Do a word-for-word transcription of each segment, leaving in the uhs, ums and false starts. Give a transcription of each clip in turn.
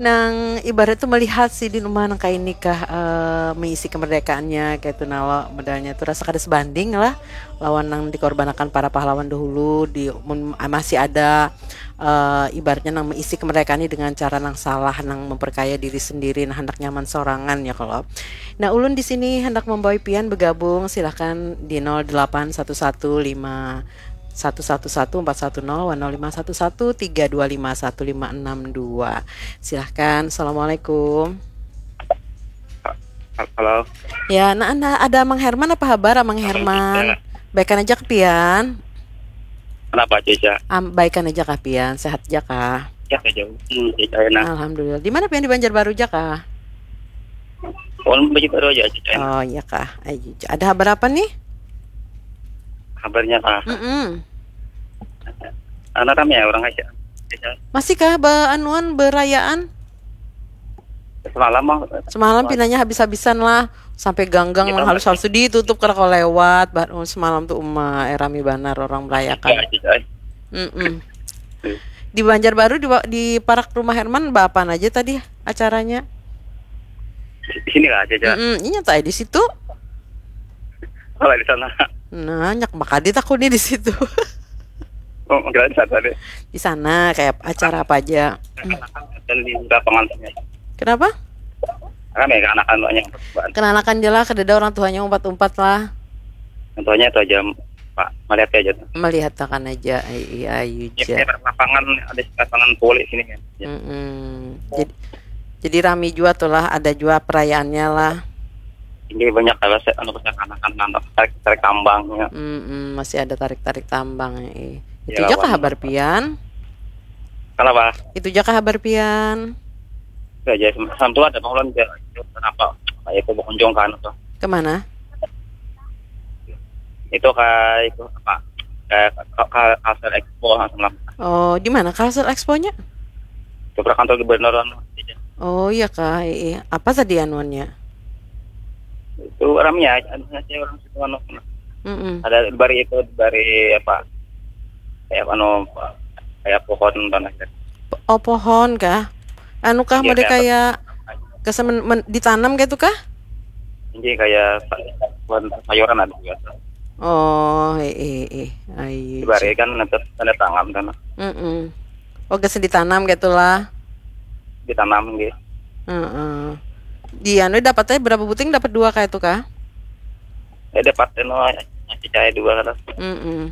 Nang ibarat tu melihat sidin uma nang kaini kah, eh, meisi kemerdekaannya kaitu nalo, modalnya tu rasa kada sebanding lah lawan nang dikorbanakan para pahlawan dahulu di mun masih ada, eh, ibaratnya nang meisi kemerdekaan ni dengan cara nang salah, nang memperkaya diri sendiri, nah handak nyaman sorangan ya kalo. Nah, ulun di sini handak membawai pian begabung, silahkan di nol delapan satu satu lima satu satu satu empat satu nol wan nol lima satu satu tiga dua lima satu lima enam dua. Silahkan. Assalamualaikum. Halo. Ya, nah, anda ada Mang Herman apa habar, Mang Herman? Baikan aja kah pian? Kenapa aja, Cak? Am, baikan aja kah pian? Sehat aja kah? Ya, aja. Hmm, ya, enak. Alhamdulillah. Di mana pian, di Banjarbaru aja kah? Ulun baju baru aja, Cak. Oh, iya kah? Ayo, ada habar apa nih? Kabarnya kah? Mm-mm. Anak rame ya orang aja. Masih kah ba anuan berayaan? Semalam mah Semalam pinanya habis-habisan lah, sampai ganggang nang halus-halus tu ditutup kada kawa lewat. Bah, oh, semalam tu uma eh, rami banar orang merayakan. Ya, Cak. Mm-mm. Di Banjarbaru di, wa- di parak rumah Herman bapaan aja tadi acaranya? Di sini lah aja, Cak. Mm-mm, inya tadi di situ. Kalau di sana. Nah, nyak bakadi takuni di situ. Oh, kira di sana deh. Di sana kayak acara apa aja? Dan di lapangan sana. Kenapa? Rame kan anak-anaknya. Kenanakan je lah, kadada orang tuanya umpat-umpat lah. Contohnya itu aja, Pak. Melihat aja tuh. Melihatkan aja, ai- ai- ayu Ya, ja. Lapangan, ada lapangan voli sini kan. Ya. Mm-mm. Jadi, jadi rami jua tuh lah, ada jua perayaannya lah. Ini banyak kalau saya anu saya anak-anak tarik tarik tambangnya. Mm-mm, masih ada tarik-tarik tambang. Eh. Ya, Itu aja kah lawan- habar pian? Kenapa? Itu aja kah habar pian? Itu aja. Sama tuh ada pengeluaran dia. Kenapa? Kayak itu berkunjung kan tuh. Kemana? Itu kayak itu apa? Kayak ke, ke Kalsel Expo sama. Oh, di mana Kalsel Expo-nya? Coba kantor gubernur anu. Oh iya kah, iya. Apa tadi anuannya? Itu ramnya, anunya sih orang situ anu. Mm-mm. Ada bari itu, bari apa? Kayak anu, kayak pohon tanah. Oh, pohon kah? Anu kah, Iya, model kayak kayak kesemen men- ditanam gitu kah? Ini kayak sa- buat sayuran ada juga. Oh, eh eh eh. Ayo. Bari kan nanti tanda tangan sana. Mm-mm. Oh, gasan ditanam gitu lah. Ditanam gitu. Heeh. Di anu dapatnya berapa buting, dapat dua kayak itu kah? Ya dapat anu, masih cahaya dua kan. Mm-mm.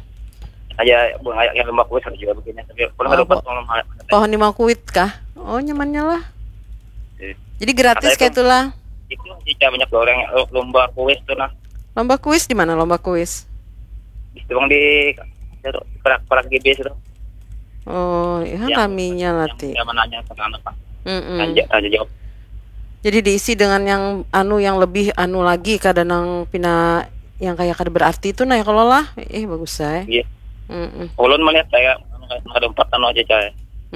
Aja bukan kayak kayak lembah kuis ada juga begini. Tapi kalau Oh, dapat bo- kalau malah Pohon limau kuit kah? Oh, nyamannya lah. Iya. Jadi gratis Kata kayak itu- itulah. Itu sih cah banyak orang lomba kuis tuh nah. Lomba kuis di mana lomba kuis? Itu bang di perak perak G B itu. Oh, ya Yang- raminya lah ti. Yang menanya tentang apa? Mm-mm. Tanya tanya jawab. Jadi diisi dengan yang anu, yang lebih anu lagi, kada nang pina yang kayak kada berarti itu nah ya kalau lah. Eh, bagus saya. Iya. Mm-mm. Ulun melihat kayak ada empat anu aja cah.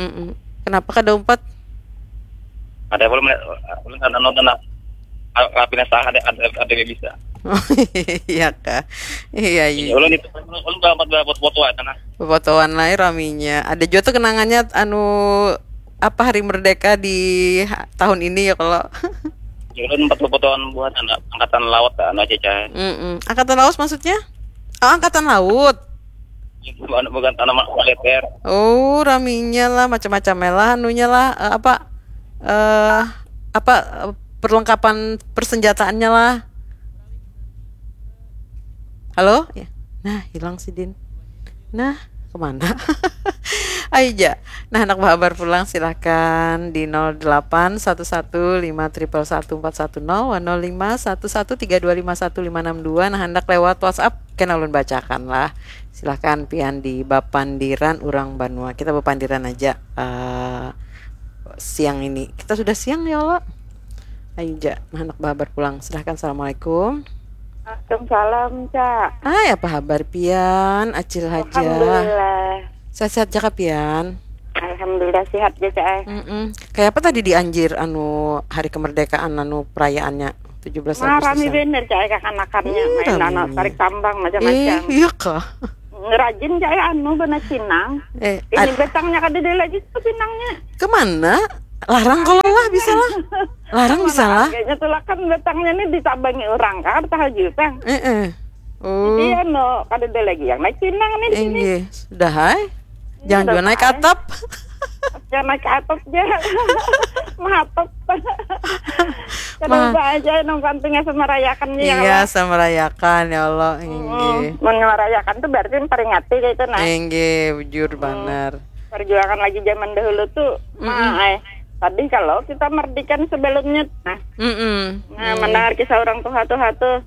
Mm-mm. Kenapa kada umpat? Ada ulun melihat ulun kan anu nah. Rapina sah ada ada ada yang bisa. Iya kah? Iya, iya. Iya, ulun itu ulun dapat dapat foto aja nah. Fotoan lah raminya. Ada juga tuh kenangannya anu apa, Hari Merdeka di ha- tahun ini ya kalau. Ya, ulun empat fotoan buat anak angkatan laut anu aja cah. Mm-mm. Angkatan laut maksudnya? Oh, angkatan laut. Bukan bukan tanaman militer. Oh, raminya lah, macam-macam lah anunya lah, eh, apa eh apa eh, perlengkapan persenjataannya lah. Halo? Ya. Nah, hilang si Din. Nah, kemana? Ayo ja. Nah, anak bahabar pulang silahkan di nol delapan satu satu lima triple satu empat satu nol, nol lima satu satu tiga dua lima satu lima enam dua. Nah, hendak lewat WhatsApp kena ulun bacakan lah. Silahkan pian di bapandiran urang banua. Kita bapandiran aja eh, siang ini. Kita sudah siang ya Allah. Ayo ja, nah, anak bahabar pulang. Silahkan. Assalamualaikum. Waalaikumsalam, Cak. Hai, apa habar pian? Acil haja. Alhamdulillah. Sehat-sehat ja kah pian? Alhamdulillah sehat ja, Cak. Mm-mm. Kayak apa tadi di Anjir anu hari kemerdekaan anu perayaannya tujuh belas Nah, rami Agustusan? Bener, Cak, kakanakannya Ih, main anak raminya. Tarik tambang macam-macam. Eh, iya kah? Rajin, Cak, anu benar cinang. Eh, Ini ad- betangnya kada ada lagi tuh pinangnya. Kemana? Larang kalau lah, bisa lah. Larang bisa lah. Kayaknya tuh lah kan datangnya nih ditabangi orang kan, tahu juga. Eh, eh. Oh. Iya no, kada ada lagi yang naik pinang nih di sini. Inggih, sudah hai. Jangan juga naik atap. Jangan naik atap ya. Mahatap. Kada lupa aja nang pentingnya sama rayakan ya. Iya, sama rayakan ya Allah. Inggih. Mun merayakan tuh berarti memperingati kayak itu nah. Inggih, bujur banar. Perjuangan lagi zaman dahulu tuh, mah eh tadi kalau kita merdikan sebelumnya nah. Mm-mm. Nah, mendengar kisah orang tua-tua tuh.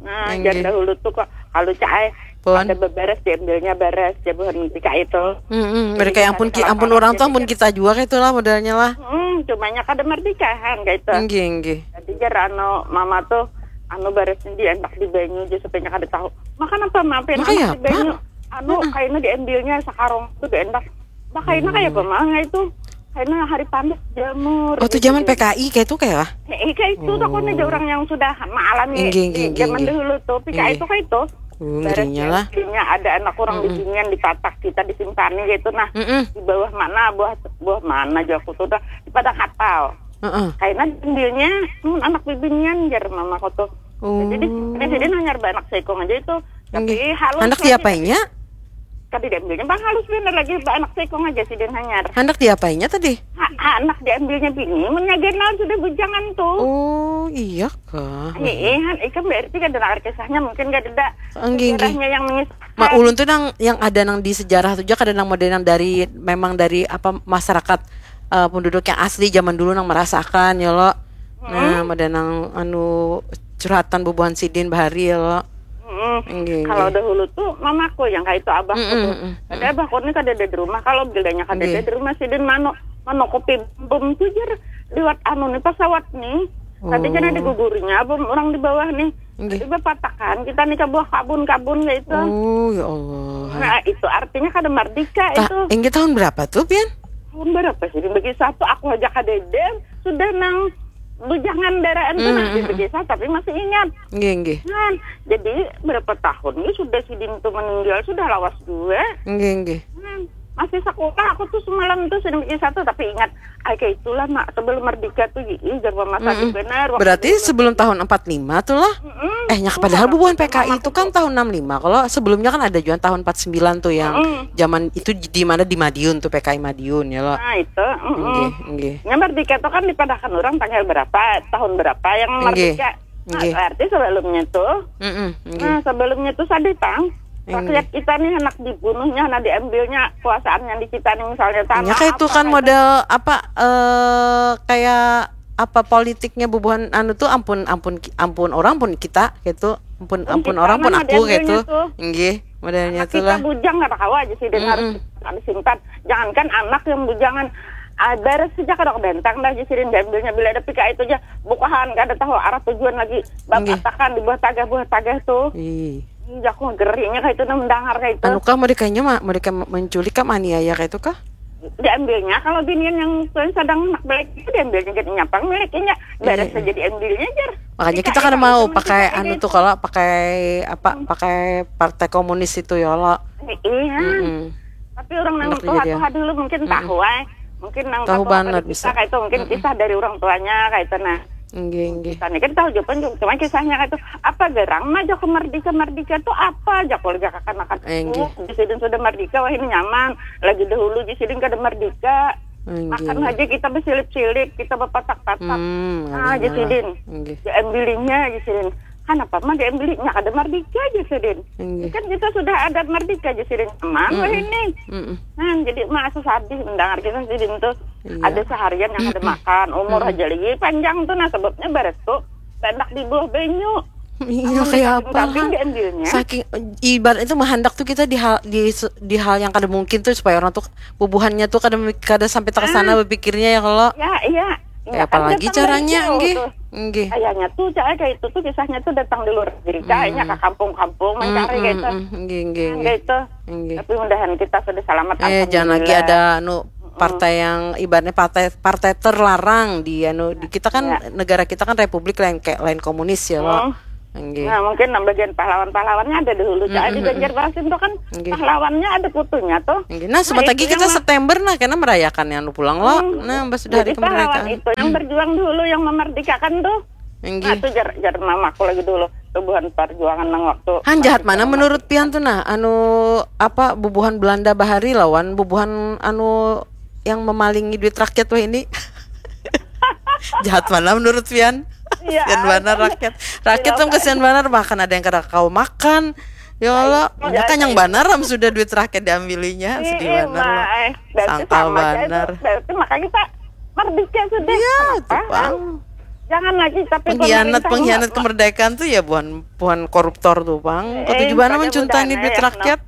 Nah, Inggih. Zaman dahulu tuh kok kalau cai Pun. Ada beberes diambilnya beres jabuhan tika itu. Mm-mm. Mereka yang ampun ki- ampun orang tuh ampun kita juga kayak itulah modelnya lah. Hmm, cumanya kada merdekahan kayak itu. Inggih, inggih. Jadi jar anu mama tuh anu beres di endak di banyu aja supaya kada tahu. Makan apa mampir Makanya di banyu. Anu kaina diambilnya sakarung tuh di endak. Makanya kayak apa mah itu? Karena hari panas jamur. Oh, tuh zaman P K I kayak itu kayak lah. Eh, kayak itu takutnya ada orang yang sudah mengalami Inggih, inggih, di zaman inggih. Dahulu tuh. P K I itu kayak itu. Uh, ngerinya lah. Akhirnya ada anak orang di sini yang ditatak kita disimpani gitu nah. Mm-mm. Di bawah mana buah buah mana aja aku tuh udah di padang kapal. Heeh. Karena diambilnya nun anak bibinian jar mamaku tuh. Oh. Jadi di sini hanyar anak seikung aja itu. Tapi Inggih. Halus Anak lagi. Diapainya? Kada diambilnya bang halus bener lagi anak seikung aja sidin hanyar. Anak diapainya tadi? Ha, ha, anak diambilnya bini mun nyagenal sudah bujangan tuh. Oh, iya kah? Iya, han, ikan berarti kada dengar kisahnya mungkin kada ada Enggih, enggih. Sejarahnya yang menyesal. Mak ulun tuh nang yang ada nang di sejarah tuh aja kada nang model nang dari memang dari apa masyarakat eh, penduduk yang asli zaman dulu nang merasakan ya lo. Nah, ada nang anu curhatan bubuhan sidin bahari ya lo. Mm-mm. Enggih, Kalau enggih. Dahulu tuh mamaku yang kayak itu abahku Mm-mm, tuh. mm-mm. Ada abahku ni kada ada di rumah. Kalau bilanya kada ada Enggih. Di rumah sidin manu manukupi bom tuh jar liwat anu nih pesawat nih. Tadi kan ada Oh. Gugurnya bom orang di bawah nih. Enggih. Jadi bapatakan kita nih ke buah kabun-kabun ya itu. Oh, ya Allah. Nah, itu artinya kada merdeka Ta- itu. Enggih tahun berapa tuh, Pian? Tahun berapa sih dibagi satu aku aja kadedem sudah nang bujangan daraan tuh Hmm, nah dibagi satu tapi masih ingat. Enggih, enggih. Nah, jadi berapa tahun ini sudah sidin tuh meninggal sudah lawas juga. Enggih, enggih. Hmm, masih sekolah aku tuh semalam tuh sidin bikin satu tapi ingat ay kayak itulah mak sebelum merdeka tuh ih jangan masa Mm-mm. benar waktu Berarti dulu. sebelum tahun empat lima tuh lah. Mm-mm. Eh, nyak Tuh, padahal waktu bubuhan itu P K I mamaku itu kan tahun enam lima. Kalau sebelumnya kan ada juga tahun empat sembilan tuh yang Mm-mm. zaman itu di mana di Madiun tuh P K I Madiun ya lo. Nah itu. Mm-mm. Enggih, enggih. Ya merdeka tuh kan dipadahkan orang tanggal berapa, tahun berapa yang Enggih. merdeka. Nah, Enggih. Berarti sebelumnya tuh. Mm-mm, enggih. Nah, sebelumnya tuh sadih tang. Enggih. Rakyat kita nih anak dibunuhnya, nah diambilnya kuasaan yang di kita nih misalnya tanah. Ya kayak itu apa, kan kayak model apa eh kayak apa politiknya bubuhan anu tuh ampun ampun ampun orang pun kita gitu ampun ampun orang pun aku gitu enggih modelnya tuh lah. Kita bujang nggak tahu aja sih dan harus disimpan. Jangankan anak yang bujangan ada sejak ada bentang dah jadi diambilnya bila ada pika itu aja bukahan gak ada tahu arah tujuan lagi batakan di buah tagah buah tagah tuh. Ih. Ih, aku gerinya kayak itu nah mendengar kayak itu. Anu kah mereka mah mereka menculik kah aniaya kayak itu kah? Diambilnya kalau binian yang sedang nak balik itu diambilnya jadi nyapang miliknya beres saja diambilnya jar. Makanya kita kan mau pakai anu tuh kalau pakai apa pakai partai komunis itu ya lo. Iya. Tapi orang nang tua tua dulu mungkin tahu ay. Mungkin nang tahu banget bisa kayak itu mungkin kisah dari orang tuanya kayak itu nah. Enggih, enggih. Tadi kan tahu jawaban cuma kisahnya itu apa gerang mah jaku merdeka merdeka tuh apa jaku lagi kakanakan. Enggih. Oh, di sidin sudah merdeka wah ini nyaman. Lagi dahulu di sidin kada merdeka. Enggih. Makan aja kita bersilip-silip, kita berpatak-patak. Hmm, ah, di sidin. Enggih. Diambilinya di sidin. Kenapa mah diambilinya kada merdeka aja sidin. Enggih. Kan kita sudah ada merdeka aja sidin. Nyaman wah ini. Nah, jadi mah asa sadih mendengar kisah sidin tuh. Iya. Ada seharian yang ada makan, umur aja lagi panjang tuh nah sebabnya beres tuh banyak di bawah banyu. Iya kayak apa saking ibarat itu menghendak tuh kita di hal di, di hal yang kada mungkin tuh supaya orang tuh bubuhannya tuh kada kada sampai tersana ah. Berpikirnya ya kalau ya iya ya, apalagi caranya enggih enggih kayaknya tuh cara kayak itu tuh kisahnya tuh datang di luar negeri kayaknya ke kampung-kampung mencari mm, gitu mm, enggih enggih enggih itu enggih tapi mudahan kita sudah selamat eh, jangan lagi ada anu partai yang ibaratnya partai partai terlarang di anu di kita kan ya. Negara kita kan republik lain kayak lain komunis ya loh. Hmm. Nggih. Nah, mungkin nang bagian pahlawan-pahlawannya ada dulu. Cak, di Banjarmasin tuh kan pahlawannya ada fotonya tuh. Nggih. Nah, sebentar lagi kita September, nah, kena merayakan anu pulang lo. Hmm. Nah, mbak sudah hari kemerdekaan. Jadi pahlawan itu yang berjuang dulu, yang memerdekakan tuh. Nggih. Nah, itu jar, jar mamaku lagi dulu. Tubuhan perjuangan nang waktu. Han, jahat mana menurut pian tuh, nah, anu, apa, bubuhan Belanda bahari lawan bubuhan anu yang memalingi duit rakyat wah ini? Jahat mana menurut pian? Iya, kasihan banar rakyat. Rakyat tuh kasihan banar, bahkan ada yang kada kawa makan. Ya Allah, makanya kanyang banar am sudah duit rakyat diambilinya, sedih banar. Sangkal banar. Berarti makanya kita merdeka sudah. Iya, tuh pang. Jangan lagi tapi pengkhianat, pengkhianat kemerdekaan tuh ya buhan, buhan koruptor tuh pang. Katuju banar mencuntani duit rakyat.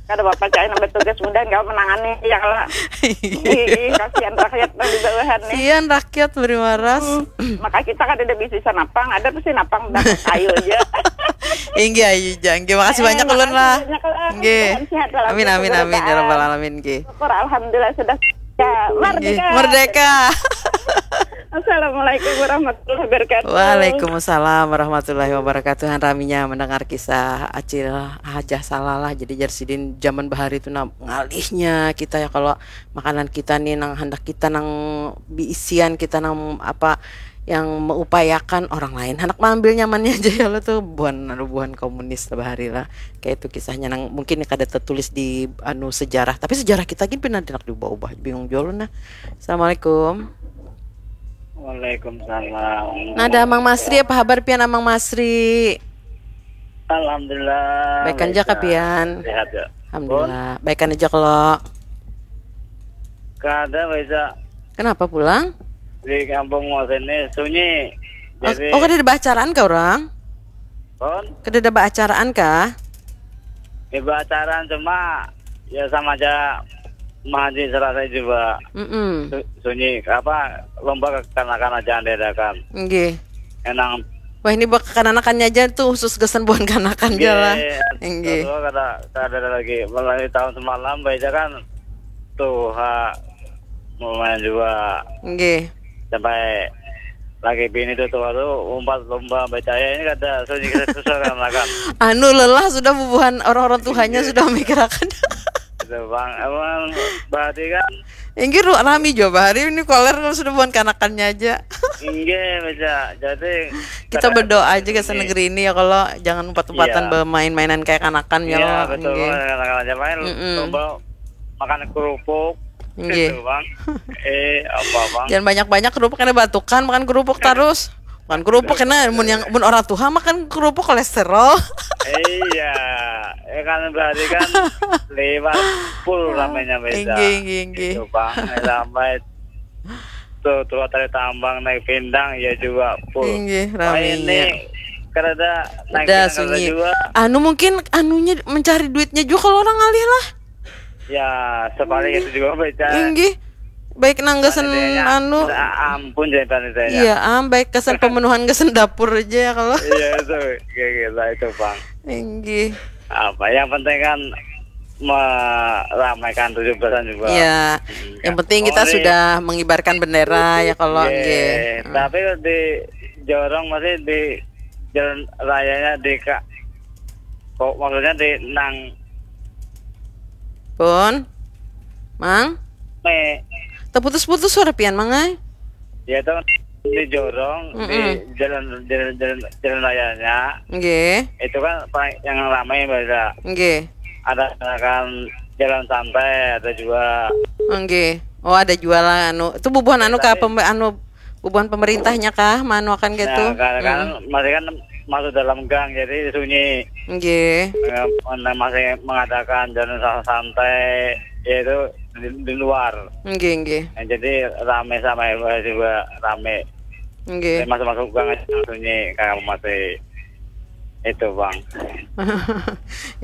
Kada apa-apa, cai nambah tugas mudahan kawa menangani ya kalo. Ih, kasihan rakyat nang di bawahan nih. Kasihan rakyat beri waras. Hmm, maka kita kada ada bisi sanapang, ada pasti napang dapat ayu aja. Inggih ayu ja. Inggih, makasih banyak ulun lah. Inggih. Amin, amin, amin ya rabbal alamin, inggih. Syukur alhamdulillah sudah ya, merdeka. Merdeka. Assalamualaikum warahmatullahi wabarakatuh. Waalaikumsalam warahmatullahi wabarakatuh. Han raminya mendengar kisah Acil Hajah Salah lah. Jadi jar sidin zaman bahari tu nah ngalihnya kita ya kalau makanan kita nih nang handak kita nang biisian kita nang apa yang meupayakan orang lain handak maambil nyamannya aja ya lo tuh buhan anu buhan komunis lah bahari lah. Kayak itu kisahnya nang mungkin kada tertulis di anu sejarah. Tapi sejarah kita gin pina handak diubah-ubah. Bingung jua ulun nah. Assalamualaikum. Waalaikumsalam. Nah, ada Amang Masri, apa habar pian Amang Masri? Alhamdulillah. Baik aja kah pian? Sehat ya. Alhamdulillah. Baik aja kalau. Kada bisa. Kenapa pulang? Di kampung mau sini sunyi. Oh, jadi oh, kada ada acaraan kah orang? Pun? Kada ada acaraan kah? Ya, acaraan cuma ya sama aja mahaji serasa juga. Mm-mm. Su- sunyi apa lomba kekanakan aja diadakan. Nggih. Enang. Wah, ini buat kekanakannya aja tuh khusus gasan buhan kanakan aja lah. Nggih. Nggih. Kalau kada kada ada lagi. Mulai tahun semalam baca kan tuh ha, lumayan juga. Nggih. Sampai lagi bini tuh tua tuh umpat lomba baca ya ini kada sunyi kita susah kan makan. Anu lelah sudah bubuhan orang-orang tuanya sudah mikirakan. Itu bang emang berarti kan. Inggih ru rami jua bahari ini koler kalau sudah buhan kanakannya aja. Inggih bisa jadi kita berdoa aja ke negeri ini ya kalau jangan umpat-umpatan iya. Bermain-mainan kayak kanakan ya iya, lo. Betul inggih. Kanakan aja main mm-mm. Lomba makan kerupuk. Nggih. Gitu, Bang. Eh, apa, Bang? Jangan banyak-banyak kerupuk karena batukan makan kerupuk terus. Makan kerupuk karena mun yang mun orang tua makan kerupuk kolesterol. Iya, ya kan berarti kan lewat full ramenya beda. Inggih, inggih, inggih. Itu, Bang. Sampai tuh tua tali tambang naik pindang ya juga full. Inggih, ramenya. Ini kada ada naik pindang kada juga. Anu mungkin anunya mencari duitnya juga kalau orang ngalih lah. Ya, sepaling itu juga baca. Inggih. Baik nang gasan anu. Ampun jadi panitia. Iya, am baik gasan pemenuhan gasan dapur aja ya kalau. Iya, itu kayak gitu itu, Bang. Inggih. Apa yang penting kan meramaikan tujuh belasan juga. Iya. Hmm, yang penting kita sudah mengibarkan bendera ya kalau nggih. Tapi di Jorong masih di jalan rayanya di kok maksudnya di nang Pun? Mang? Me. Terputus-putus suara pian, Mang ai. Ya itu di jorong mm -mm. Di jalan jalan jalan, jalan rayanya. Nggih. Itu kan yang ramai biasa. Nggih. Ada kan jalan santai ada juga. Nggih. Oh ada jualan anu. Itu bubuhan anu kah pembe anu bubuhan pemerintahnya kah manuakan gitu? Nah, karena hmm. Kan masih kan masuk dalam gang jadi sunyi. Nggih. Nah, masih mengadakan jalan santai yaitu di, di luar. Nggih, nggih. Nah, jadi rame sama juga rame. Nggih. Masuk-masuk gang aja sunyi karena masih itu, Bang.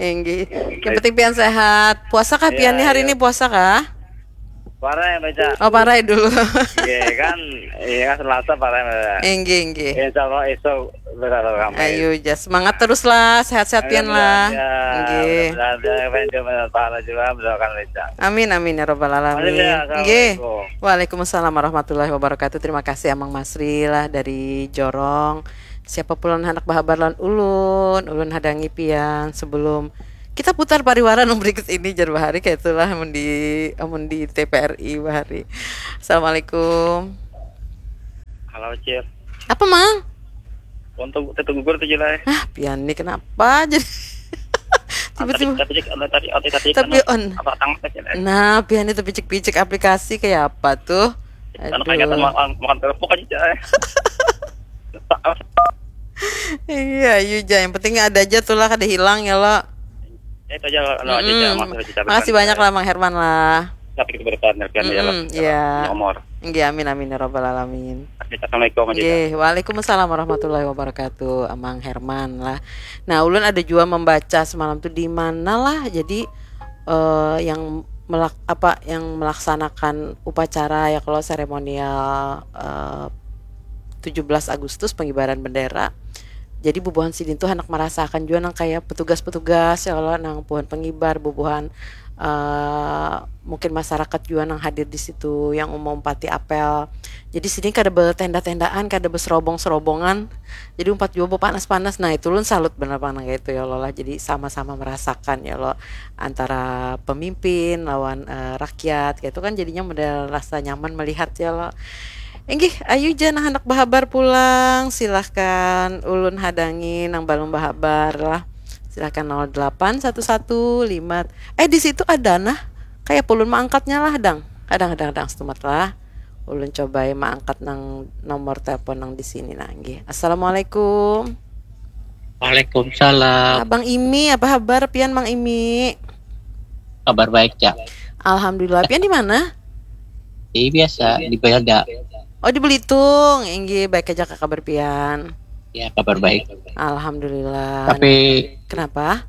Nggih. Yang penting pian sehat. Puasa kah pian nih hari ini puasa kah? Parai baca. Oh, parai dulu. Iya kan, iya kan Selasa parai baca. Inggih, inggih. Insya Allah esok berada kami. Ayo, jas semangat terus lah, sehat-sehat pian lah. Inggih. Pahala juga mendoakan Lisa. Amin amin ya robbal alamin. Inggih. Waalaikumsalam warahmatullahi wabarakatuh. Terima kasih Amang Masri lah dari Jorong. Siapa pulang handak bahabar lawan ulun, ulun hadangi pian sebelum kita putar pariwara nang berikut ini, jar bahari kaitulah amun di amun di T P R I bahari. Assalamualaikum. Halo, Cil. Apa, Mang? Untuk tetu gugur tuh, Cil, eh. Ah, pian nih kenapa jadi Tadi tiba-tiba tadi tadi tadi tadi Tapi on. Apa tang teh, Cil, eh? Nah, pian itu picik-picik aplikasi kayak apa tuh? Anu kayak Aduh. makan makan kerupuk aja, Cil, eh. Iya, ayu ja. Yang penting ada aja tuh lah, kada hilang ya lo. Ya, itu aja, anu aja, Cil, Mm-mm. maksud aja, Cil. Makasih banyak lah, Mang Herman lah. Tapi kita berdepan, ya, kan, ya, Mm-mm, lah. iya. Nomor. Nggih, amin amin ya rabbal alamin. Oke, assalamualaikum aja, Cil. Nggih, waalaikumsalam warahmatullahi wabarakatuh, Amang Herman lah. Nah, ulun ada jua membaca semalam tuh di mana lah. Jadi eh, yang melak apa yang melaksanakan upacara ya kalau seremonial eh, tujuh belas Agustus pengibaran bendera. Jadi bubuhan sidin tuh handak merasakan jua nang kayak petugas-petugas ya kalau nang bubuhan pengibar, bubuhan eh, mungkin masyarakat jua nang hadir di situ yang umum pati apel. Jadi sidin kada bertenda-tendaan, kada berserobong-serobongan. Jadi umpat jua berpanas-panas. Nah, itu ulun salut benar pang nang kayak itu ya Allah lah. Jadi sama-sama merasakan ya Allah antara pemimpin lawan eh, rakyat gitu kan, jadinya model rasa nyaman melihat ya Allah. Inggih, ayu ja nang handak bahabar pulang, silahkan ulun hadangi nang balum bahabar lah. Silahkan nol delapan satu satu lima. Eh, di situ ada nah. Kayak ulun maangkatnya lah, dang. Kadang-kadang dang setumat lah. Ulun cobai maangkat nang nomor telepon nang di sini nah, nggih. Assalamualaikum. Waalaikumsalam. Abang Imi, apa habar pian, Mang Imi? Kabar baik, Cak. Alhamdulillah. Pian di mana? Ini biasa di Belanda. Oh, di Belitung. Inggih, baik aja kah kabar pian? Ya, kabar baik. Alhamdulillah. Tapi Kenapa?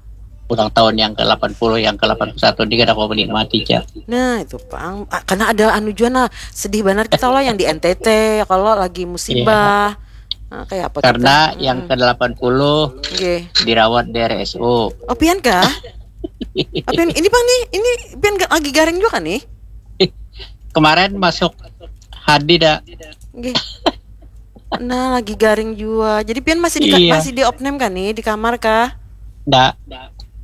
ulang tahun yang ke delapan puluh, yang ke delapan puluh satu ini kada aku menikmati, Cak. Nah, itu pang. Ah, karena ada anu jua nah, sedih benar kita lah yang di N T T kalau lagi musibah. Nah, kayak apa Karena kita? Yang Mm-mm. ke delapan puluh Nggih. Dirawat di R S U. Oh, pian kah? Oh, pian ini pang nih, ini pian ga- lagi garing juga kan nih? Kemarin masuk Hadi dah. Nggih. Nah, lagi garing jua. Jadi pian masih di Iya. Masih di opname kan nih, di kamar kah? Ndak.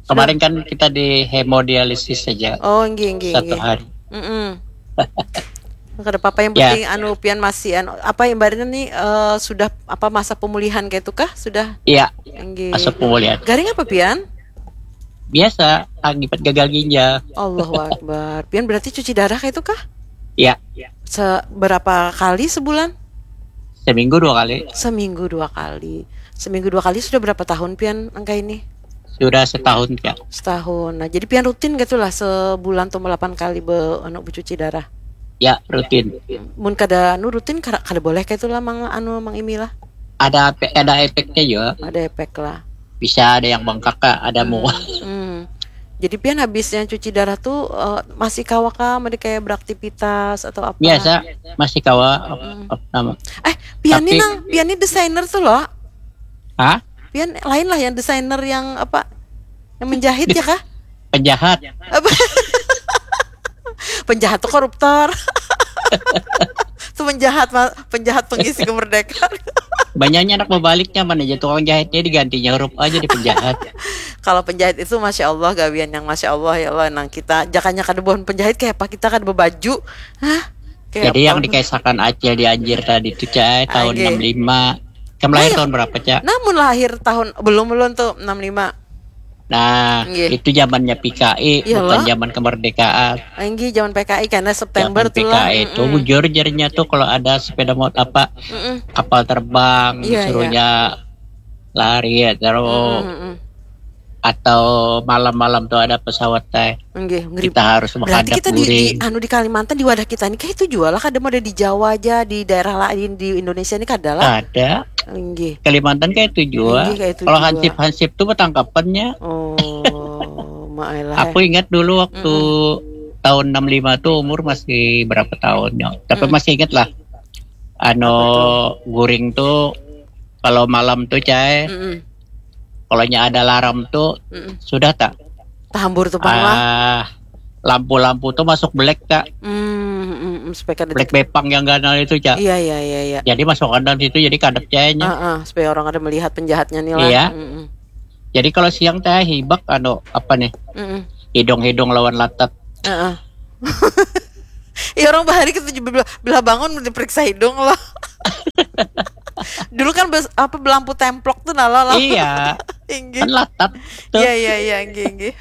Kemarin kan kita di hemodialisis saja. Oh, nggih nggih Satu nggih. Hari. Mm-mm. Kada apa-apa, yang Ya. Penting anu pian masih anu apa ibaratnya nih eh, sudah apa masa pemulihan kayak itu kah? Sudah. Iya, Nggih. Masuk pemulihan. Garing apa pian? Biasa, akibat gagal ginjal. Allahu Akbar. Pian berarti cuci darah kayak itu kah? Iya. Seberapa kali sebulan? Seminggu dua kali. Seminggu dua kali. Seminggu dua kali sudah berapa tahun pian angka ini? Sudah setahun, Cak. Setahun. Nah, jadi pian rutin gitu lah sebulan tuh delapan kali be anu bercuci darah. Ya, rutin. Mun kada anu rutin kada, kada boleh kayak itulah mang anu mang Imi lah. Ada pe- ada efeknya juga. Ada efek lah. Bisa ada yang bengkak, Kak, ada mual. Hmm. Jadi pian habis yang cuci darah tuh eh, masih kawa kah, masih kayak beraktivitas atau apa? Biasa masih kawa apa nama? Eh, pian ini Tapi- nang, pian ini desainer tuh loh. Hah? Pian lain lah yang desainer yang apa? Yang menjahit ya kah? Penjahat. Apa? Penjahat tuh koruptor. Tuh penjahat, ma- penjahat pengisi kemerdekaan. Banyaknya anak berbalik nyaman aja tukang jahitnya digantinya huruf A jadi penjahat. Kalau penjahit itu masya Allah gawian yang masya Allah ya Allah nang kita jakanya kada buhan penjahit kayak apa kita kada berbaju, hah? Kayak Jadi apa? Yang dikaisakan Acil di Anjir tadi itu, Cai, tahun Anjir. enam lima. Kamu lahir Nah, tahun berapa, Cak? Namun lahir tahun belum belum tuh enam lima. Nah, Nggih. Itu zamannya P K I, Iya, bukan loh. Zaman kemerdekaan. Anggi zaman P K I karena September Zaman tuh lah. P K I itu Mm-mm. Bujur jarinya tuh kalau ada sepeda motor apa Mm-mm. Kapal terbang Iya, disuruhnya lari ya terus Mm-mm. Atau malam-malam tuh ada pesawat teh. Nggih, ngeri. Kita harus Berarti menghadap kita di, di guring. Anu di Kalimantan di wadah kita ini kayak itu jual lah kada mau ada di Jawa aja di daerah lain di Indonesia ini kada lah. Ada. Nggih. Kalimantan kayak itu juga. Nggih, kayak itu Kalau juga. hansip-hansip tuh bertangkapannya. Oh, maailah. Aku ingat dulu waktu tahun enam lima tuh umur masih berapa tahunnya. Tapi Mm. Masih ingat lah. Ano guring tuh kalau malam tuh, Cai, Mm-mm. kalau ada alarm tuh Mm-mm. Sudah tak? Tahambur tuh pang lah. Ah, lampu-lampu tuh masuk black, Kak. Hmm, mm, mm, supaya kada Black bepang yang ganal itu, Cak. Iya, iya, iya, iya. Jadi masukkan dalam situ, jadi kadap cahayanya. Ah, ah, supaya orang kada melihat penjahatnya nih lah. Iya. Mm-mm. Jadi kalau siang teh hibak, anu, apa nih? Mm-mm. Hidung-hidung lawan latat. Heeh. Ya, orang bahari kita juga bila, bila bangun diperiksa hidung loh. Dulu kan bes, apa, belampu templok tuh nala loh. Iya, Inggih. Kan latat tuh. Iya, iya, iya, inggih, inggih.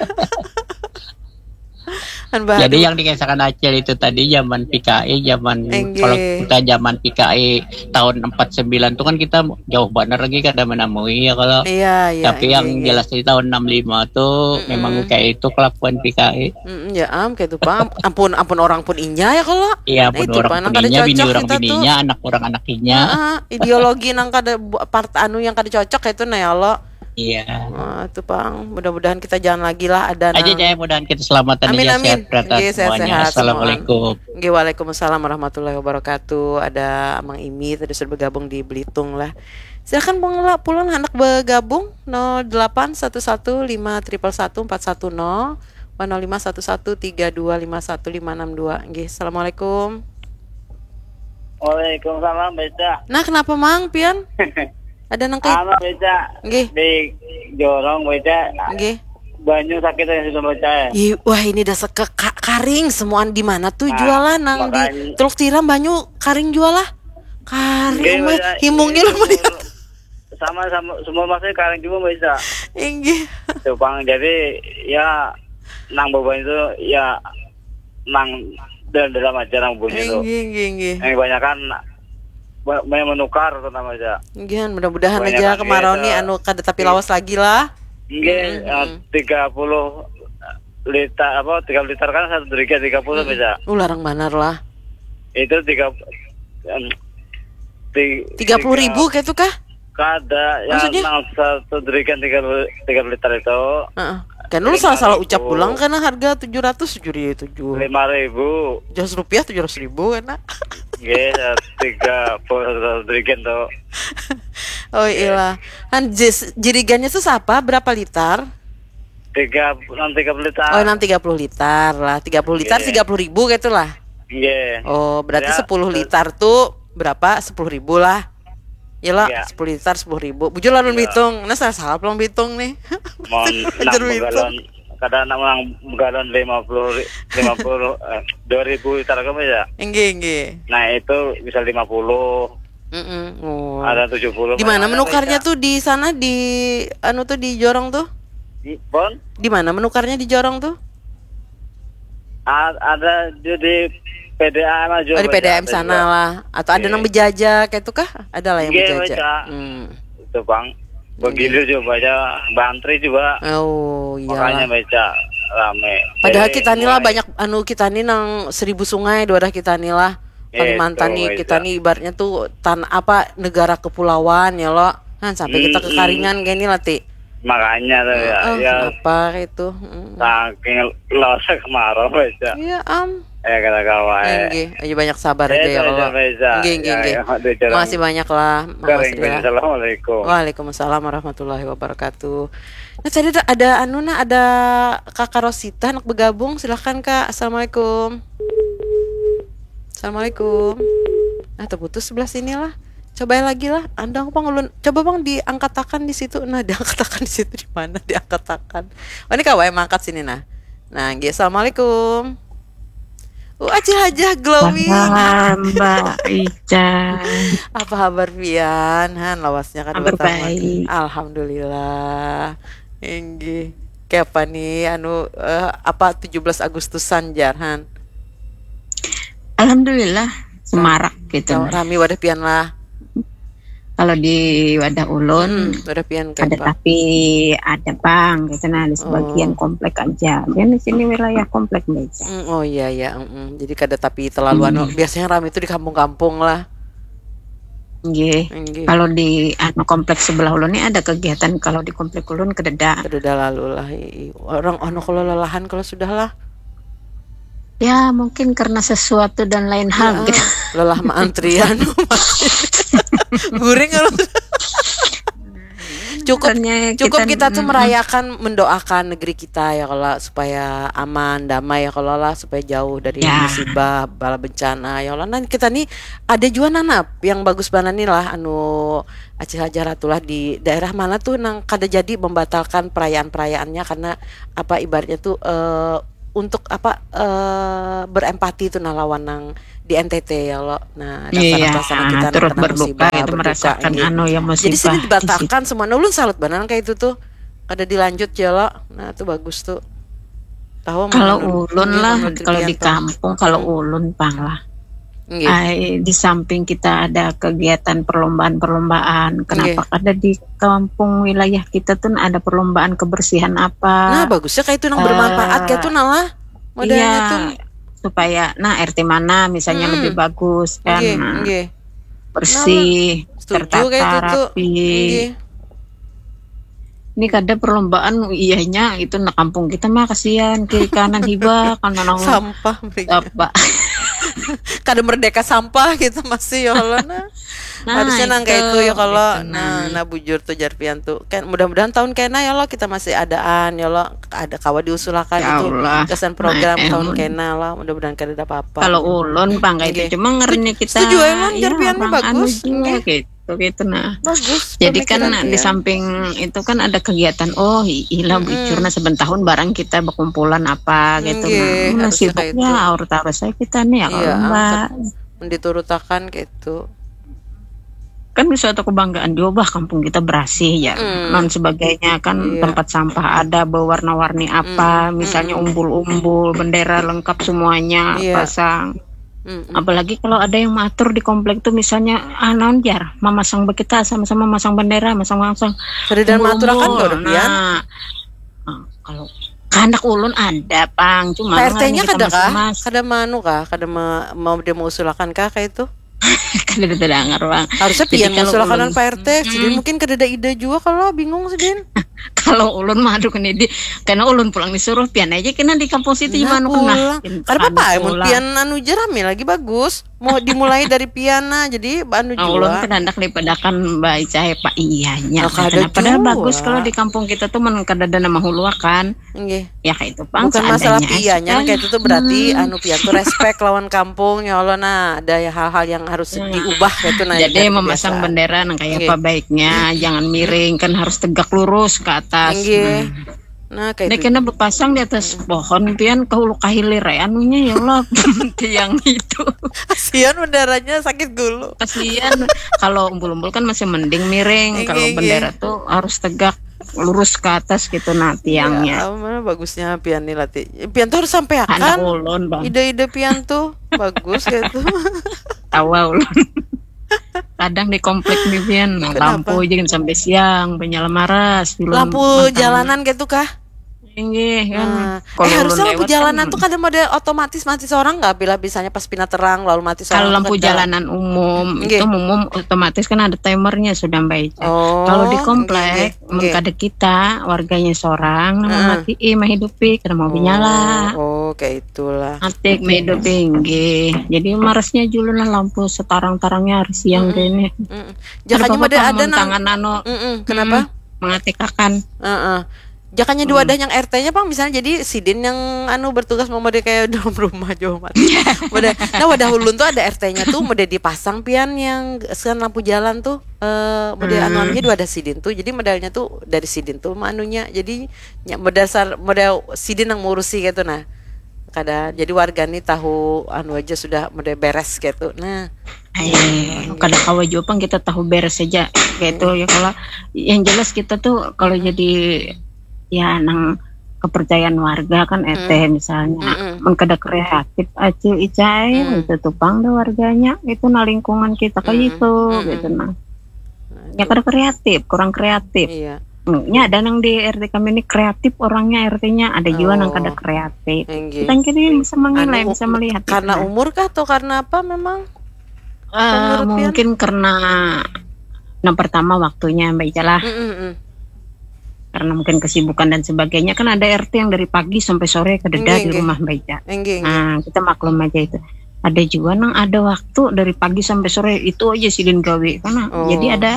Kan bahari. Jadi yang dikisahkan Acil itu tadi zaman P K I, zaman Inggih. Kalau kita zaman P K I tahun empat sembilan tuh kan kita jauh banget lagi kada menemui ya kalau. Iya, iya. Tapi yang Inggih, inggih. Jelas di tahun enam lima tuh memang kayak itu kelakuan P K I. Mm-mm, ya am, kayak itu pang. Ampun, ampun orang pun inya ya kalau. Iya, Nah, pun itu orang pang, nang pun kada inya, bini cocok orang kita tuh. Bininya, anak orang anak inya. Heeh, ideologi nang kada bu- part anu yang kada cocok itu nah ya Allah. Iya. Nah, itu pang. Mudah-mudahan kita jangan lagi lah ada Aja nang. Cak, mudahan kita selamatan Amin, aja, amin. sehat rata Nggih, semuanya. Sehat-sehat Assalamualaikum. Nggih, waalaikumsalam warahmatullahi wabarakatuh. Ada Amang Imi tadi sudah bergabung di Belitung lah. Silakan Bang La, pulang anak bergabung nol delapan satu satu lima triple satu empat satu nol, nol lima satu satu tiga dua lima satu lima enam dua. Nggih, assalamualaikum. Waalaikumsalam, Beca. Nah, kenapa Mang Pian? Ada nang kayak Anu, Beca. Nggih. Di jorong, Beca. Nggih. Banyu sakit ya sudah, Beca. Ih, wah, ini dasar ke ka- karing semuaan di mana tuh Nah, jualan nang di makanya. Teluk Tiram banyu karing jual lah. Karing Nggih, mah Beca. himungnya Itu lu melihat. Sama sama semua masih karing juga, Beca. Inggih. Tuh, Bang, jadi ya nang beban itu ya nang dalam-dalam aja nang bunyi tuh. Inggih, inggih, inggih. Yang kebanyakan ba- banyak menukar tuh namanya. Inggih, mudah-mudahan Banyak aja lagi kemarau itu. Nih anu kada tapi lawas lagi lah. Nggih, eh, tiga puluh liter apa tiga liter kan satu derigen tiga puluh bisa. Uh, larang banar lah. Itu tiga em, ti- Tiga puluh ribu kayak itu kah? Kada, ya Maksudnya? Nang satu derigen tiga tiga liter itu. Heeh. Kan lu salah-salah ucap pulang karena harga tujuh ratus tujuh ribu tujuh. Lima ribu. Tujuh ratus rupiah tujuh ratus ribu kan? Nak? Nggih, tiga puluh satu derigen tuh. Oh iyalah. Kan jis- jerigannya tuh siapa? Berapa liter? Tiga nang tiga puluh liter. Oh, nang tiga puluh liter lah. Tiga puluh liter Iya. Tiga puluh ribu gitu lah. Nggih. Oh, berarti Ya, sepuluh terus- liter tuh berapa? Sepuluh ribu lah. Ya lah, Iya. sepuluh liter sepuluh ribu. Bujur lalu Iya. Bitung. Nah, salah salah pulang Bitung nih. Mau Bujur enam Bitung. galon. Kada enam galon lima puluh lima puluh eh, dua ribu liter kan ya. Inggih, inggih. Nah, itu bisa lima puluh. Mm-mm. Oh. Ada tujuh puluh. Di mana Ada menukarnya bisa. Tuh di sana di anu tuh di jorong tuh? Di, Bon? Di mana menukarnya di jorong tuh? A- ada di, di P D A M aja. Oh, di P D A M sana lah. Atau ada Iya. Nang berjaja kayak itu kah? Ada lah yang Iya, berjaja. Beca. Hmm. Itu, Bang. Begitu juga banyak bantri juga. Oh, iya. Makanya, Beca, rame. Padahal Jadi, kita nih lah mulai- banyak anu kita nih nang seribu sungai, dua dah kita nih lah. Iya, Kalimantan itu, nih Beca. Kita nih ibaratnya tuh tan apa negara kepulauan ya lo. Nah, sampai kita Mm-mm. kekaringan kayak ini lah ti. Makanya tuh ya, Oh, ya apa itu? Mm. Saking losnya kemarau, Beca. Iya am. Ya, kata kawan. Inggih, aja banyak sabar aja ya Beca, Allah. Beca. Inggih, Ya, inggih. Ya, Beca. Makasih banyak lah, Kering, makasih Beca. lah. Assalamualaikum. Waalaikumsalam warahmatullahi wabarakatuh. Nah, tadi ada, ada anu nah ada Kakak Rosita nak bergabung, silahkan Kak. Assalamualaikum. Assalamualaikum. Nah, terputus sebelah sini lah. Coba lagi lah. Andang pang ulun. Coba bang diangkatakan di situ. Nah, diangkatakan di situ di mana? Diangkatakan. Oh, ini kawai mangkat sini nah. Nah, nggih, assalamualaikum. Uh, Acil Hajah glowing. Wah, Mbak Ica. Apa kabar pian? Han, lawasnya kada Kabar bertamu. Baik. Alhamdulillah. Inggih. Kayak apa nih anu eh, apa tujuh belas Agustusan jar Han? Alhamdulillah semarak gitu. Rami wadah pian lah. Kalau di wadah ulun Hmm, wadah pian ada kayak apa? Tapi ada bang gitu nah di sebagian Oh. Komplek aja. Dan di sini wilayah komplek Mbak Ica. Hmm, oh iya iya. Mm-mm. Jadi kada tapi terlalu anu. Hmm. Biasanya rami itu di kampung-kampung lah. Nggih. Nggih. Kalau di anu kompleks sebelah ulun ini ada kegiatan kalau di komplek ulun kededa. Kededa lalu lah. I- i- Orang ono kalau lelahan kalau sudah lah. Ya mungkin karena sesuatu dan lain hal Ah, gitu. Lelah ma antrian. Guring kalau Cukup, cukup kita, kita tuh mm, merayakan, mendoakan negeri kita ya kalau supaya aman, damai ya kalau lah, supaya jauh dari ya, musibah, bala bencana ya Allah. Nah, kita nih ada juga nanap yang bagus banget nih lah, anu, Acil Hajar tuh lah, di daerah mana tuh nang kada jadi membatalkan perayaan-perayaannya karena apa, ibaratnya tuh eh, untuk apa, eh, berempati tuh nah lawan nang di N T T ya lo. Nah, dasar iya, apa sana kita turut berduka musibah, itu, berduka, merasakan anu ya, musibah. Jadi sini dibatalkan semua. Nah, ulun salut banar kayak itu tuh. Kada dilanjut ya lo. Nah, itu bagus tuh. Tahu kalau ulun lah, kalau di kampung, kalau hmm, ulun pang lah. Ay, di samping kita ada kegiatan perlombaan-perlombaan, kenapa ada di kampung wilayah kita tuh ada perlombaan kebersihan apa? Nah, bagusnya kayak itu nang bermanfaat uh, kayak itu nah lah. Modalnya iya, tuh supaya nah R T mana misalnya hmm, lebih bagus kan. Nggih, nah, nggih. Bersih, nah, tertata, kayak itu tuh, rapi. Nggih. Ini kada perlombaan, iyanya itu nak kampung kita mah kasihan, kiri kanan hibak, kan nang sampah mereka. Apa? Kada merdeka sampah gitu masih ya Allah nah. Nah, harusnya nang kayak itu ya kalau gitu, nah, nah, nah bujur tuh jar pian tuh. Kan mudah-mudahan tahun kena ya Allah kita masih adaan ya Allah, ada kawa diusulakan ya itu Allah, kesan program nah, tahun kena lah, mudah-mudahan kada ada apa-apa. Kalau ulun pang kayak itu, cuma ngerti kita setuju ya Allah, jar pian bagus. Anu juga gitu. Gitu, gitu nah. Bagus. Jadi kan di samping itu kan ada kegiatan, oh ilah bujur nah, saben tahun barang kita berkumpulan apa gitu nah. Nah, sibuknya aur taruh saya kita nih ya kalau Mbak. Diturutakan gitu. Kan suatu kebanggaan juga bah kampung kita berasih ya. Hmm. Non sebagainya kan iya, tempat sampah ada berwarna-warni apa, hmm, misalnya hmm, umbul-umbul, bendera lengkap semuanya iya, pasang. Mm-mm. Apalagi kalau ada yang matur di komplek tuh misalnya ah naon jar memasang bekita sama-sama masang bendera masang-masang kada dan maturakan kau nah, nah, kalau kandak ulun ada pang cuma Pak R T-nya kada kah? Kada manu kah? Kada ma- mau dia mengusulkan kah kayak itu? Kada ada terdengar bang. Harusnya pian mengusulkan Pak R T. Hmm. Sidin mungkin kada ada ide juga kalau bingung sidin. Kalau ulun mah aduh kena di karena ulun pulang disuruh pian aja kena di kampung situ nah, manu kena. Kada apa-apa, mun pian anu je rame lagi bagus. Mau dimulai dari pian nah, jadi anu nah, jua. Ulun kan hendak dipadakan baca ya pak iyanya. Nah, kada padahal bagus kalau di kampung kita tuh mun kada ada nama huluakan. Nggih. Ya kayak itu pang. Bukan masalah piannya kayak itu tuh berarti hmm, anu pian tuh respect lawan kampung ya Allah nah ada ya hal-hal yang harus hmm, diubah kayak itu nah. Jadi memasang bendera nah kayak apa baiknya jangan miring kan harus tegak lurus ke atas. Nggih. Nah. Nah, kayak nah, itu. Kena berpasang di atas hmm, pohon pian ke hulu kahilir ya anunya ya Allah tiang itu. Kasihan benderanya sakit gulu. Kasihan kalau umbul-umbul kan masih mending miring kalau bendera tuh harus tegak lurus ke atas gitu nah tiangnya. Ya, bagusnya pian nih lati. Pian tuh harus sampai akan ulun, ide-ide pian tuh bagus gitu. Tawa ulun. Kadang di komplek nih pian nah, lampu aja sampai siang penyala maras lampu jalanan gitu kah? Inggih kan. Nah, eh harusnya lampu jalanan tuh kada model otomatis mati seorang nggak bila bisanya pas pina terang lalu mati seorang. Kalau lampu jalanan umum itu umum otomatis kan ada timernya sudah baik. Oh, kalau di komplek kada kita warganya seorang nah mati eh menghidupi kada mau menyala. Oh, kayak itulah. Atik maido tinggi. Jadi marasnya julu nah lampu setarang-tarangnya hari siang mm -mm. Gini. Mm -mm. Jakanya ada ada nang tangan anu. Mm -mm. Kenapa? Mm -mm. Mengatikakan. Uh -uh. Jakanya dua mm. Ada yang R T-nya pang misalnya jadi sidin yang anu bertugas mau model kayak dalam rumah jauh mati. Model, nah wadah ulun tuh ada R T-nya tuh model dipasang pian yang sekarang lampu jalan tuh eh model mm. Anu anunya dua ada sidin tuh jadi modalnya tuh dari sidin tuh anunya jadi ya, modal sar modal sidin yang ngurusi gitu nah. Kada jadi warga nih tahu anu aja sudah model beres gitu nah. Ayo, kada kawa jua pang kita tahu beres saja gitu ya kalau yang jelas kita tuh kalau jadi ya nang kepercayaan warga kan eteh hmm. Misalnya hmm. Mun kada kreatif acil icai hmm. Itu tuh pang deh warganya itu nah lingkungan kita kayak hmm. Itu hmm. Gitu nah. Nah, ya itu. Kada kreatif kurang kreatif iya. Nya ada nang di R T kami ini kreatif orangnya R T-nya ada juga oh. Nang kada kreatif. Kita kira bisa menilai anu, bisa melihat karena gitu. Umur kah atau karena apa memang uh, mungkin karena yang pertama waktunya Mbak Ica lah mm -mm. Karena mungkin kesibukan dan sebagainya kan ada R T yang dari pagi sampai sore kededa di rumah Mbak Ica nah kita maklum aja itu ada juga nang ada waktu dari pagi sampai sore itu aja sidin gawe karena oh. Jadi ada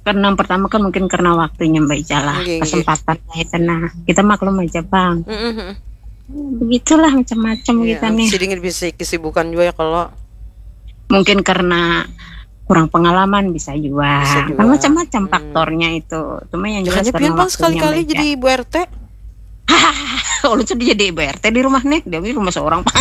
Karena yang pertama kan mungkin karena waktunya, Mbak Ica lah, Nggih, nggih. Kesempatan lah itu. Nah, kita maklum aja, Bang. Mm-mm. Begitulah macam-macam Iya, kita nih. sidin bisa kesibukan juga ya kalau Mungkin karena kurang pengalaman bisa juga. Bisa juga. Kan macam-macam Hmm. Faktornya itu. Cuma yang jelas Makanya karena pian, Bang, waktunya, sekali-kali Mbak Ica. Jadi ibu R T. Ulun sudah jadi ibu R T di rumah nih, dia di rumah seorang, Pak.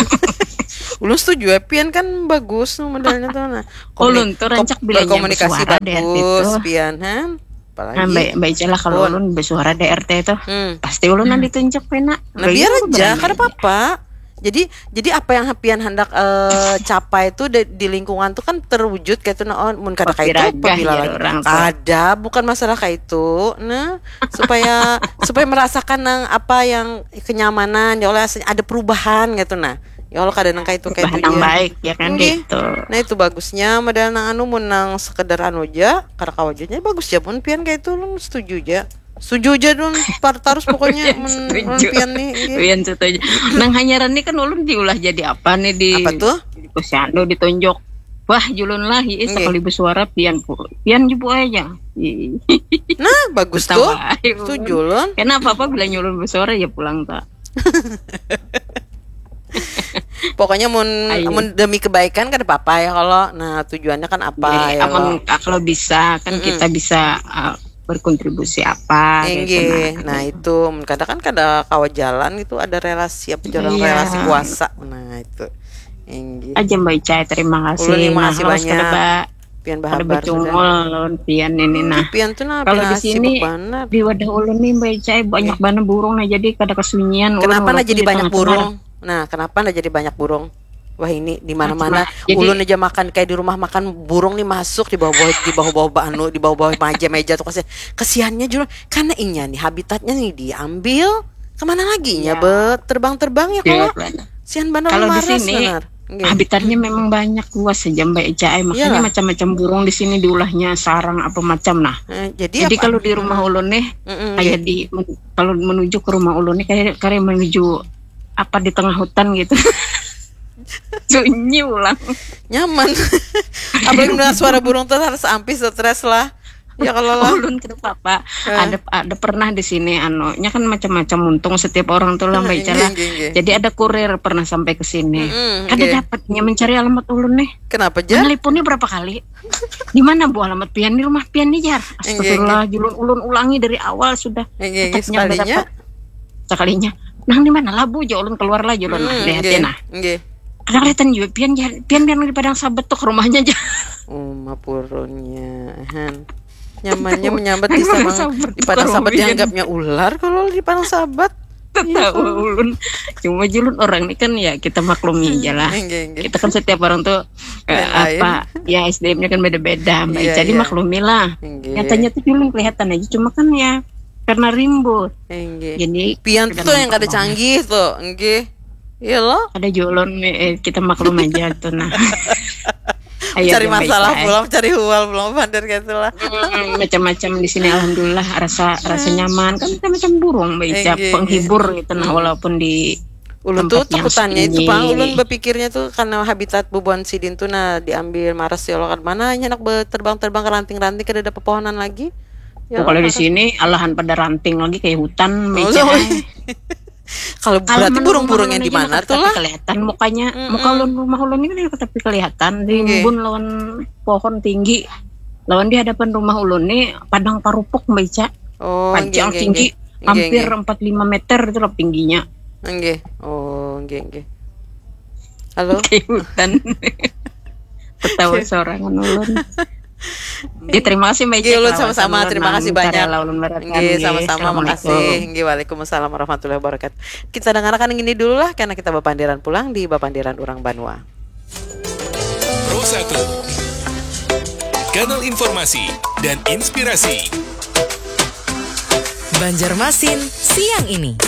Ulun setuju ya, pian kan bagus tuh modelnya tuh. Nah, Ulun komuni- tuh rancak kom- bilanya berkomunikasi bersuara di R T bagus, tuh. Pian, han. Apalagi. Nah, Mbak, Mbak Ica lah, kalau Pun. Ulun bersuara di R T tuh, Hmm. pasti Ulun Hmm. ditunjuk, Pina. Nah, biar aja, kada apa-apa. Jadi, jadi apa yang pian hendak eh, capai itu di, di lingkungan tuh kan terwujud kayak itu, nah, oh, mun kada kayak itu, Papiragah pabila jar lagi. Orang tuh. Kada, bukan masalah kayak itu. Nah, supaya supaya merasakan nang apa yang kenyamanan, ya Allah, ada perubahan gitu, nah. Ya Allah, kada nang kayak itu, kayak Bahan itu yang aja. Baik ya kan Nggih. Gitu. Nah, itu bagusnya model nang anu, mun nang sekedar anu aja, kada kawa aja, bagus ya mun pian kayak itu, Ulun setuju aja. Setuju aja, Ulun, par tarus pokoknya. Pian Mun, setuju. Mun pian nih, nggih. Pian setuju. Nang hanyaran nih kan Ulun diulah jadi apa nih di Apa tuh? Di posyandu ditunjuk. Wah, julun lah, ih, Nggih. Sekali bersuara pian pu. Pian jubu aja. Ih. Nah, bagus tuh. Ketawa. Setuju, Ulun. Kenapa apa bila nyulun bersuara ya pulang, Pak? Pokoknya mun Ayo. Mun demi kebaikan kada apa-apa ya kalau. Nah, tujuannya kan apa Jadi, ya amun kalau. Kalau bisa kan Mm-mm. Kita bisa uh, berkontribusi apa gitu, Inggih. nah. Nah, itu mun kada kan kada kawa jalan gitu, ada relasi apa jalan Iya. Relasi kuasa. Nah, itu. Inggih. Aja Mbak Ica, terima kasih. Ulun yang makasih Nah, harus kada banyak. ba- Pian kada bahabar bacungul sudah. Lawan pian ini nah. Pian tuh nah Kalau pina di sini sibuk banget. Di wadah ulun nih Mbak Ica, banyak Nggih. Banget burung nah, jadi kada kesunyian. Ulun Kenapa nah walaupun jadi di banyak tengah-tengah. Burung? Nah, kenapa nah jadi banyak burung? Wah, ini di mana-mana. Macam-macam. Jadi Ulun aja makan kayak di rumah makan burung nih masuk di bawah-bawah di bawah-bawah anu, di bawah-bawah meja-meja tuh kasihan. Kesiannya juga karena inya nih habitatnya nih diambil. Kemana lagi inya Ya. Bet? Terbang-terbang ya Iya, kalau. benar. Sian benar Kalau di maras sini benar. Nggih. Habitatnya memang banyak luas saja Mbak Ica, eh, makanya Iyalah. Macam-macam burung di sini diulahnya sarang apa macam nah. Eh, jadi Jadi apa? Kalau di rumah ulun nih Mm-mm, kayak nggih. Di kalau menuju ke rumah ulun nih kayak kayak menuju apa di tengah hutan gitu. Sunyi ulang. Nyaman. Apalagi mendengar suara burung tuh harus ampih stres lah. Ya kalau lah. Ulun kada apa-apa. Eh. Ada ada pernah di sini anu, nya kan macam-macam untung setiap orang tuh lah Mbak Ica Nggih, lah. nggih, nggih. Jadi ada kurir pernah sampai ke sini. Mm-mm, Kada nggih. Dapatnya mencari alamat ulun nih. Kenapa jar? Menelponnya berapa kali? Di mana bu alamat pian, di rumah pian nih jar. Nggih, Astagfirullah, julun ulun ulangi dari awal sudah. Nggih, nggih, Tetap nyanda sekalinya. Dapat. Sekalinya. Nang di mana lah bu? Jar ulun keluar lah julun. Hmm, Lihat nggih, ya nah. Nggih. Ada kelihatan juga pian jar. Pian pian di Padang Sabat tuh ke rumahnya aja. Uma purunnya. Han. Nyamannya menyambat di Padang Padang Sabat di Padang tuh Sabat kerumian. Dianggapnya ular kalau di Padang Sabat. Tahu ulun. Cuma julun orang nih kan ya kita maklumi aja lah. Nggih, nggih. Kita kan setiap orang tuh eh, Lain-lain. Apa ya S D M-nya kan beda-beda Mbak Iya, Ica, jadi iya. Maklumilah. Nggih. Nyatanya tuh julun kelihatan aja cuma kan ya karena rimbo. Nggih. Jadi Pian tuh yang kada canggih tuh, nggih. Iya loh. Ada julun eh, kita maklum aja tuh nah. Ayo, Cari Mbak masalah Ica, eh. Pulang, cari hual pulang, bandar gitu lah. Hmm, macam-macam di sini alhamdulillah rasa rasa nyaman kan macam-macam burung Mbak Ica, Nggih, penghibur gitu nah walaupun di Ulun tuh tempat yang takutannya itu sunyi. Pang, ulun berpikirnya tuh karena habitat bubuhan sidin tuh nah diambil maras ya Allah, kan mana hanya nak terbang-terbang ke ranting-ranting kada ada pepohonan lagi. Ya Oh, kalau di Allah, sini alahan pada ranting lagi kayak hutan Oh, Mbak Ica. sorry. Kalau Kalau berarti menurut burung-burung rumah yang di ulun aja mana dekat tuh lah? Kelihatan mukanya, Mm-mm. Muka ulun rumah ulun ini kan dekat tapi kelihatan Nggih. rimbun lawan pohon tinggi. Lawan di hadapan rumah ulun nih padang parupuk Mbak Ica. Oh, Panjang nggih, tinggi, nggih. Hampir Nggih, empat lima meter itu lah tingginya. nggih. Nggih. Oh, nggih, nggih. Halo? Kayak hutan. Ketawa sorangan ulun. Ya, terima kasih Mbak Ica. Nggih, ulun Kelawas sama-sama. ulun Terima nang kasih banyak. karela ulun barakan, Nggih, sama-sama. Assalamualaikum. Makasih. Nggih, waalaikumsalam warahmatullahi wabarakatuh. Kita dengarkan yang ini dulu lah, karena kita bapandiran pulang di Bapandiran Urang Banua. Pro satu. Kanal informasi dan inspirasi. Banjarmasin siang ini.